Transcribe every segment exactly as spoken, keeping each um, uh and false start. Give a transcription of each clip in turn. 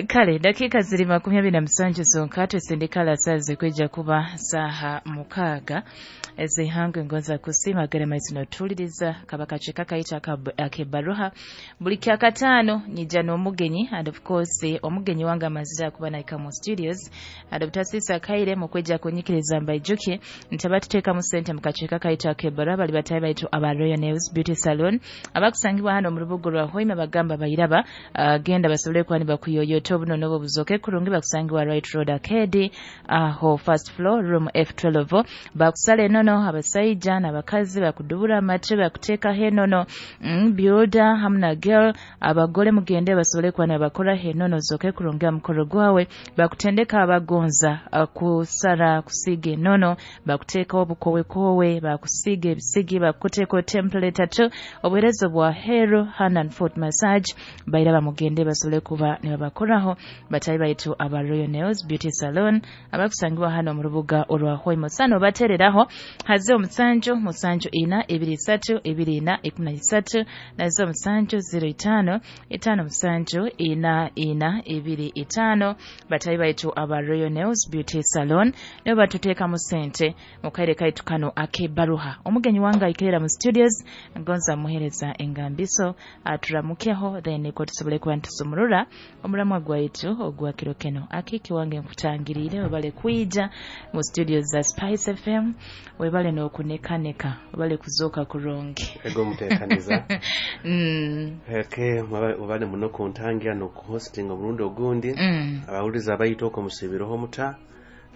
Kale dakika ziri makumi abiri na musanju zonka tusindikala saze kwijja kuba saha mukaaga ezihanga ngonza kusiima gerema notuliriza kabaka cheka kaita akebaruha buli kyakataano nyija n'omugenyi, and of course omugenyi wange amazira kuba naika mu studios and obutasisa kaire mu kwijja kunyikiriza mbaijuke ntaba tuteekamu ssente mu kaceeka kaita akebaruha bali batayi baitu aba Royal Nails Beauty Salon abakusangibwa hano mu rubuga rwa Hoima bagamba bayiraba uh, genda basobole kuba nibakuyoyota obuno n'obwo buzoke kurungi bakusangibwa Right Road Arcade aho first floor room F twelve bakusala enono abasaija n'abakazi bakudubura amate bakuteekaho enono mm, builder hamwe na girl abagore mugende basobole kuba nibakora enono zoke kurungi mukoro gwawe bakutendeka abagonza kusara kusiga enono bakuteekaho obukowekowe bakusiga ebisigi bakuteekaho template atu obuheereza bwa hero hand and foot massage bairaba mugende basobole kuba nibabakoraho batayi baitu aba Royal Nails Beauty Salon abakusangibwa hano mu rubuga orwa Hoima sano batereraho haze omusanju musanju ina ebiri isatu ebiri ina ikumi na isatu nazo omusanju zero itano itano musanju ina ina ebiri itano batayi baitu aba Royal Nails Beauty Salon nibo batuteekamu ssente mu kaire kaitu kano akebaruha omugenyi wange aikerera mu studios ngonza muhereza engambiso aturamukeho then ko tusobole kuba ntusumurura omulamwa gwaitu ogwa kiro keno akiki wange nkutangirire webale kwija mu studios za Spice F M webale n'okunekaneka webale kuzooka kurungi ego muteekaniza mm. Eke webale muno kuntangira n'okuhostinga omurundi ogundi mm. Abawuliza abayita okwo musibireho muta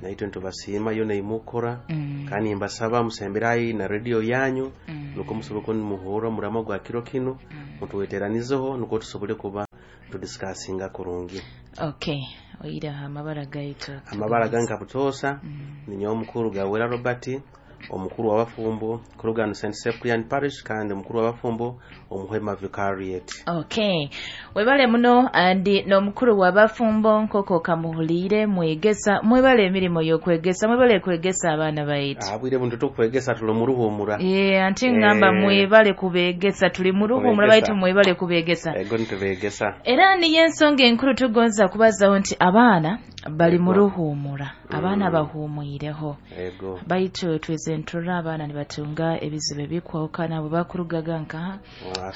naitwe ntubasiima yo neimukora mm. Kandi mbasaba musemberayi na radio yanyu mm. Nuko musobole kuba nimuhurra omurama gwa kiro kino mm. Mutuweteranizeho nuko tusobole kuba tudiscussinga kurungi. Okay, oira amabara gaitu amabara ganka butoosa mm. Ninyowe omukuru Gawera Robert omukuru w'abafumbo kuruga Saint Cyprian Parish kandi omukuru w'abafumbo omuhwema Vicariate. Okay, webale muno andi n'omukuru w'abafumbo nkoko kamuhuliire mwegesa mwebale emirimu y'okwegesa mwebale kwegesa abaana baitu abwire buntu tukwegesa tuli mu ruhumura eh anti ngamba Eh. mwebale kubegesa tuli mu ruhumura Kubegesa. baitu mwebale kubegesa Ego nitubegesa era niyo ensonga enkulu tugonza kubazaho nti abaana bali mu Ego. ruhumura abaana Mm. bahumwireho ego baitu tweze nturra abaana nibatunga ebizibu ebikwawukana bwe bakurugaga nka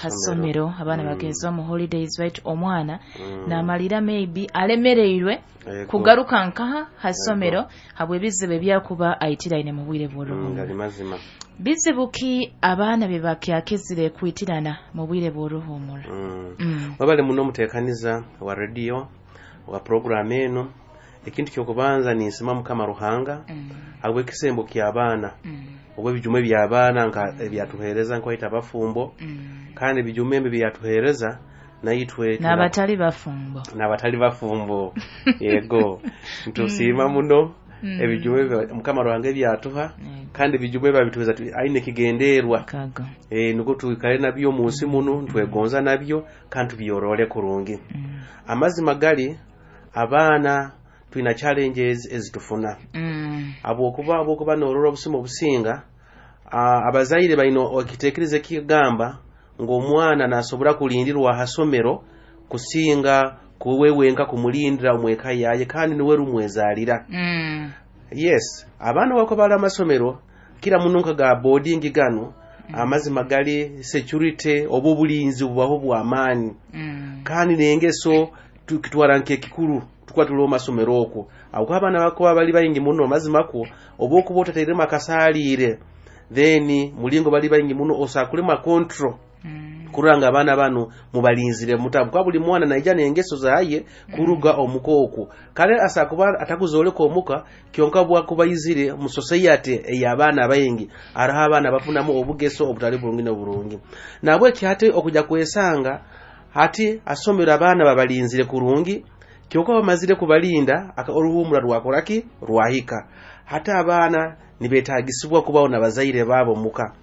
hasomero abaana Mm. bagezwa mu holidays baitu omwana Mm. namalira maybe alemereirwe Ego. kugaruka nkaha hasomero habw'ebizibu ebyakuba aitiraine mu bwire Mm, bw'oruhumura gali mazima bizibu ki abaana be bakyakizire kwitirana mu bwire bw'oruhumura Mm. Mm. Webale muno omuteekaniza wa radio wa program eno ekintu kyokubanza ninsima Mukama Ruhanga Mm. habw'ekisembo ky'abaana Mm. oba ebijumo eby'abaana nka ebyatuheereza nkwaita abafumbo Mm. kandi ebijumo ebyo byatuheereza naitwe tuna- n'abatali bafumbo n'abatali bafumbo yego ntusiima muno Mm. ebijumo ebyo Mukama Ruhanga ebyatuha Yego. kandi ebijumo ebyo abituheereza tu- aine ekigenderwa Kago. Eh, nukwo twikale nabyo mu nsi muno ntwegonza nabyo kandi tubyorore kurungi Mm. amazima gali abaana twina challenges ezitufuna Mm. habwokuba habwokuba norora obusimu obusinga ah, abazaire baino okiteekereza ekigamba ng'omwana nasobora kulindirwa aha somero kusinga kuwe wenka kumulindira omweka yaye kandi niwe rumwezaalira Mm. yes abaana bako bali amasomero kira muno nka ga boarding gano amazima gali security oba obulinzi bubaho bw'amaani Mm. kandi n'engeso tukitwara nk'ekikuru tukuba tuli omu masomero okwo aho abaana bakuba bali baingi muno mazima kwo oba okuba otateiremu akasaaliire then mulingo bali baingi muno osakulema control Mm. kurora nga abaana bano mubalinzire mutabu kuba buli mwana naija n'engeso zaye kuruga omuka okwo kale asakuba atakuzoleka omuka kyonka bwakubaizire mu society ey'abaana baingi hariho abaana bafunamu obugeso obutali burungi n'oburungi nabweki hati okuja kwesanga hati asomero abaana babalinzire kurungi kyonka bamazire kubalinda aka- oruhumura rwakoraki rwahika hati abaana nibetagisibwa kubaho n'abazaire baabo muka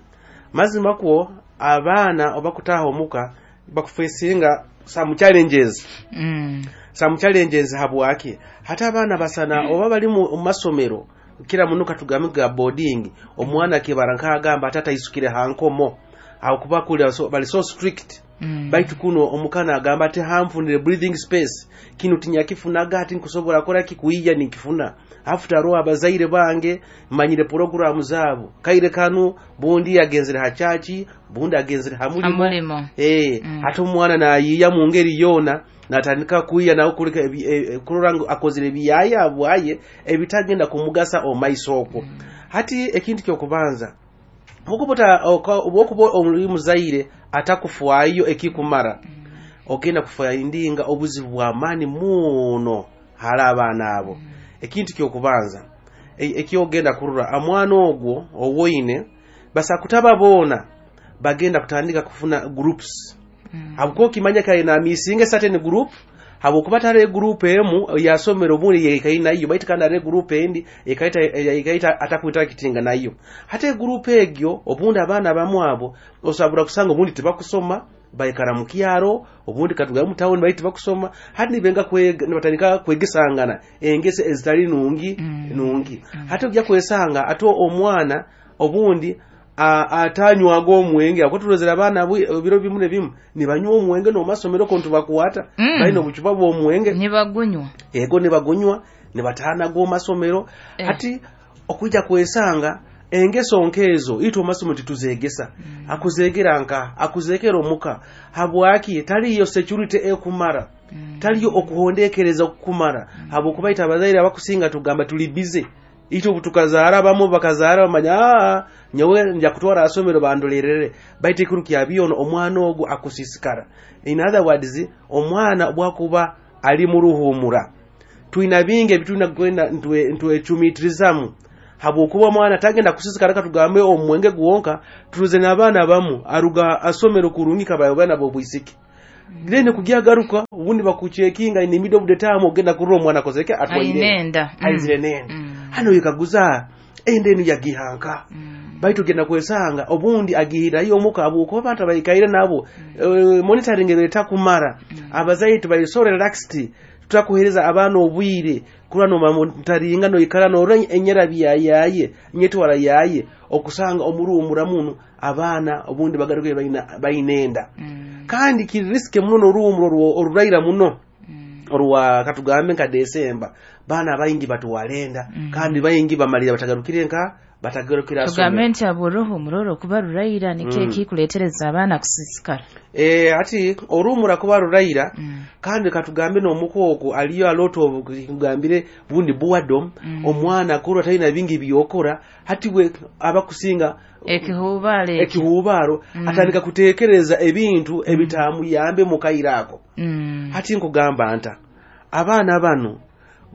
mazima kwo abaana obakutaha omuka bakufesinga some challenges Mm. some challenges habwaki hati abaana basana oba bali mu mu masomero kira muno katugambe ga boarding omwana kibara nkagamba ate ataisukire ha nkomo aho kuba kuli so, bali so strict Mm. Baitu kuno omukana agamba ati hanfunire breathing space, kinu tinyakifunaga, ati nkusobola kora ki kuija nikifuna after all abazaire bange manyire programu zaabo kaire kanu bundi agenzere ha chachi, bundi agenzere ha mulimo. Hamulimo. Eh, Mm. ate omwana nayiya mu ngeri yona natandika kuyiya nawe kuleka ebi- e- e- kurora ngu akozere ebiyaya bwaye ebitagenda kumugasa omaiso okwo. Hati ekintu kyokubanza, obwokuba oli muzaire atakufwayo ekikumara, ogenda kufindinga obuzibu bw'amaani muno hali abaana abo. Ekintu kyokubanza e- ekyogenda kurora, omwana ogwo owoine basa kutaba boona bagenda kutandika kufuna groups, Mm. habwokuba okimanya kare namisinga certain group, habwokuba tare group emu yasomero obundi yekaine nayo, baitu kandi are group endi ekaita ekaita atakuinteractinga nayo. Hati group egyo obundi abaana bamu abo osabura kusanga obundi tibakusoma, baikara mu kyaro, obundi katugamu mu town, baitu bakusoma. Hati nibenga kwega, nibatandika kwegesangana engese ezitali nungi. Mm. Nungi. Hati ojja kwesanga ate omwana obundi a- atanywaga omwenge, akwatulozera abaana bwe- ebiro bimu ne bimu nibanywa omwenge n'omasomero ko ntubakwata Mm. balina obucupa bw'omwenge. Nibagunywa. Ego, nibagunywa, nibataanaga omasomero. Eh. Hati okwijja kwesanga engeso nkeezo itwe omasomero tituzegesa. Akuzegera nka akuzekera omuka, habwaki taliyo security ekumara, Mm. taliyo okuhondekereza okukumara, habwokuba ite abazaire abakusinga tugamba tuli busy. Itwe obu tukazaara, abamu bakazaara bamanya, aa nyowe nja kutwara asomero bandolerere, baitu ekiro kya byono omwana ogwo akusisikara. In other words, omwana bwakuba ali mu ruhumura, twina bingi ebitulina kugenda ntwe- ntwecumitirizamu, habwokuba omwana tagenda kusisikara. Katugambe omwenge gwonka, turuze n'abaana bamu aruga asomero kurungi kabayo baana b'obwisiki, then kugyagaruka ubundi bakuchekinga in the middle of the time, ogenda kurora omwana akozeke atwaire Ainenda. Mm. aizire nenda. Mm. Hano wekaguza enda enu yagihanka? Mm. Baitu genda kwesanga obundi agihirayo omuka, habwokuba abantu abaikaire nabo, eh, monitoring etakumara. Abazaire tubali so relaxed, tutakuhereza abaana obwire kurwa nomonitoringa, noikara norora enyera byayaye nyetwara yaye, okusanga omuruhumura muno abaana obundi bagaruke baina bainenda. Mm. Kandi kiri risky muno n'oruhumuro orwo- oruraira muno, Mm. orwa katugambe nka Desemba, baana baingi batwalenda. Mm. Kandi baingi bamalira batagarukire nka batagarukira Tugambe nti abo oruhumura orwo kuba ruraira nikyo Mm. ekikuleetereza abaana kusisikara. Eh, ati oruhumura kuba ruraira, Mm. kandi katugambe n'omukooko aliyo a lot of kugambire bundi boredom. Mm. Omwana kurwa talina bingi byokora, hati we abakusinga ekihubaalo ekyo. Ekihubaalo. Mm. Atandika kutekereza ebintu ebitamuyambe mu kaire ako. Mm. Hati nkugamba nta abaana bano,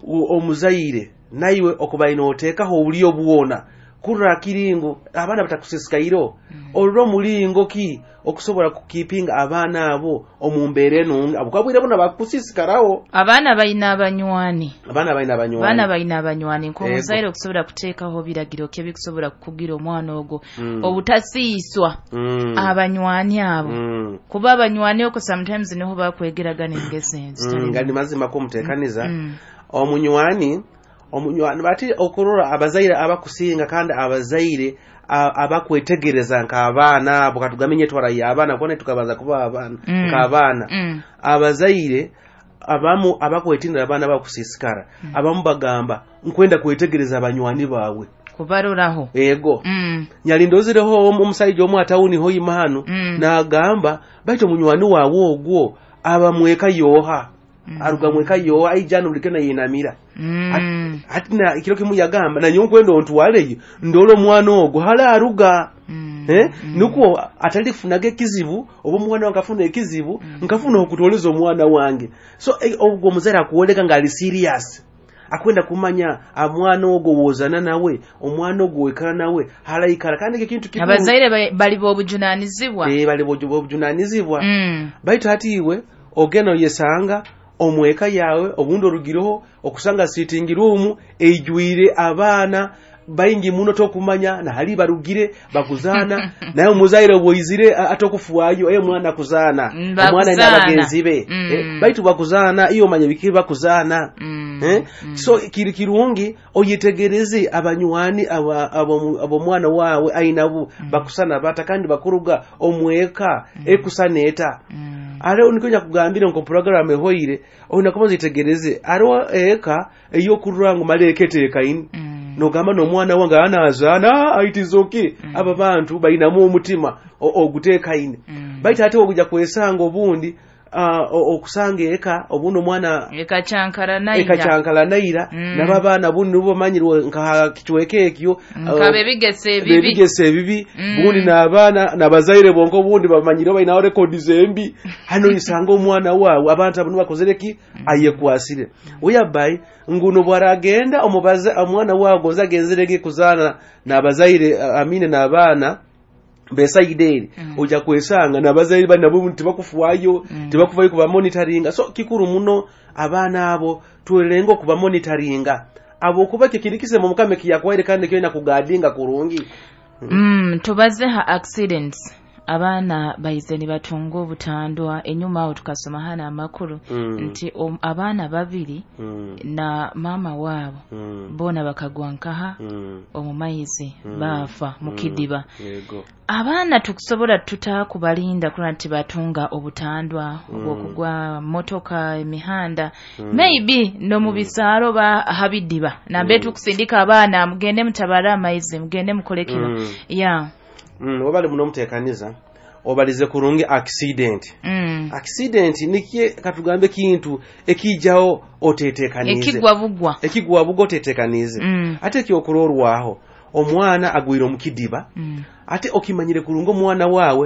u- omuzaire naiwe okubaina oteekaho obulyo bwona kurra kiringo abaana batakusisikairo, olwo omulingo ki okusobola kukipinga abaana abo omu mbeera enungi, abo kabwire bona bakusisikarawo. Abaana balina abanywani. Abaana balina abanywani. Abaana balina abanywani. Nk'omuzaire okusobola kuteekaho biragiro ki ebikusobola kukugira omwana ogwo Mm. obutasiiswa Mm. abanywani abo, Mm. kuba abanywani okwo sometimes niho bakwegeragana engeso Mm, ezitali nga ni mazima ko muteekaniza. Mm. omunywani omunywani bati okurora abazaire abakusinga, kandi abazaire a- abakwetegereza nk'abaana abo, katugambe nyetwara y'abaana kubona tukabanza kuba abaana, Mm. nk'abaana, Mm. abazaire abamu abakwetindira abaana bakusisikara, abamu bagamba nkwenda kwetegereza abanywani baawe. Kubaroraho. Ego. Mm. Nyali ndozireho omu- omusaija omu atawuni hoima hano, Mm. n'agamba baitu omunywani waawe ogwo aba mweka yoha, Mm. aruga mweka yoha, aijana bulikena yinamira. Mm. Hati na ekiro kimu yagamba, nanyo nkwenda ontwaleyo ndole omwana ogwo hali aruga. Mm. Eh? Nukwo atalifunaga ekizibu, oba omwana wange afuna ekizibu, nkafuna okutwoleza omwana wange. So eh, ogwo omuzaire akuwoleka ng'ali serious, akwenda kumanya omwana ogwo wozana nawe, omwana ogwo wekala nawe halaikara, kandi ekyo kintu kikuru. Abazaire ba- bali b'obujunanizibwa. Eh, bali bobujunanizibwa. Mm. Baitu hati iwe ogenda oyesanga omweka yawe, obundi orugireho okusanga sitting room eijwire abaana. Baingi muno tokumanya nahali barugire bakuzaana, naye omuzaire bwoizire atokufwayo, e mwana kuzaana. Mm, omwana ina bakuzaana. Bagenzi be. Mm. Eh, baitu bakuzaana, iyo omanya biki bakuzaana. Mm. Eh? So kiri kirungi oyetegereze abanywani aba- abo- ab'omwana wawe ainabu bakusana bata, kandi bakuruga omweka ekusana eta. Mm. Ate nikonya kugambire nko program ehoire oyina kubanza itegereze ariwo eka eyokurura ngu male eka eteekaine. Mm. Nogamba n'omwana wange anazaana aitizoki, aba bantu bainamu omutima o- oguteekaine. Mm. Baitu ate oguja kwesanga obundi ah, o- okusanga eka obundi omwana ekacyankara naira. Ekacyankala naira. Mm. Nabo abaana bundi nibo bamanyirwe nka kicweka ekyo. Nka bebigesa ebibi. Bebigesa ebibi. Mm. Bundi n'abaana n'abazaire bonka obundi bamanyire bainaho rekodi zembi. Hano isanga omwana waawe abantu abo nibakozere ki ayekwasire oyabai nguno bwaragenda omubaza omwana waawe gonza agenzerege kuzaana n'abazaire, amine n'abaana besaide eri. Mm. Ojja kwesanga n'abazaire bali nabo tibakufwayo. Mm. Tibakufayo kubamonitoringa. So kikuru muno abaana abo twerenga okubamonitoringa abo kuba kikirikise mu mukama ekiyakwaire kandi kyolina kugadinga kurungi. Mm, tubaze ha accidents, abaana baize nibatunga obutandwa. Enyuma awo tukasoma hano amakuru Mm. nti om- abaana babiri Mm. na maama waabo Mm. boona bakagwa nkaha Mm. omu maizi Mm. baafa mu kidiba. Yego. Abaana tukusobola tuta kubalinda kulwa nti batunga obutandwa obwokugwa motoka emihanda, maybe n'omu bisaalo ba habidiba nambe tukusindika abaana mugende mutabale amaizi, mugende mukole kino? Mm. Ya. Mm, wabali muno omuteekaniza obalize kurungi accident. Mm. Accident nikie katugambe kintu ekijaho otetekanize. Ekigwa bugwa. Ekigwa bugwa otetekanize. Mm. Ate ekyokurorwaho omwana agwire omu kidiba. Mm. Ate okimanyire kurungi omwana waawe.